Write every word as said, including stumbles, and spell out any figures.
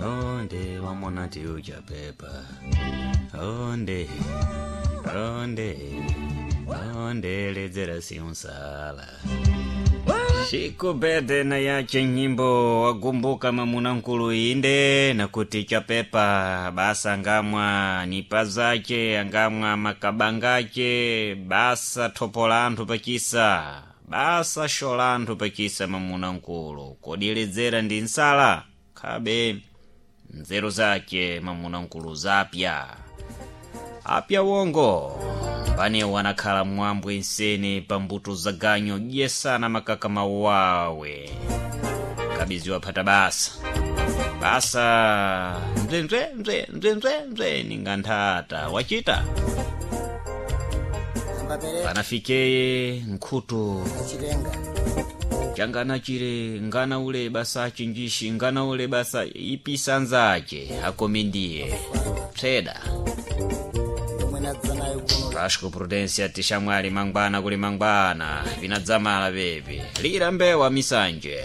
Onde wamonati uchapepa. Onde, onde, onde ledzera siunsala. Shiku bede na yache nyimbo wagumbuka mamuna nkulu inde nakuti chapepa basa ngamwa nipa zace angamwa makabangace basa thopola anthu pachisa basa xola anthu pachisa mamuna nkulu kodi ledzera ndi nsala khabe nzeru zace mamuna nkulu zapya apya wongo panewo anakhala mwambwe nsene pambuto za ganyo dyesana makaka mawawe kabiziwa phata basa basa mzemze mze mzemze mze ninga nthata wachita Ambapereka panafikeye nkhutu achitenga changana chile ngana ule basa achinjishi ngana ule basa ipisa nzache akomi ndiye pseda yomwe nadza nayo kuno Vasco Prudencia tishamwali mangwana kuli mangwana vinadzamala pepi lira mbewa misanje.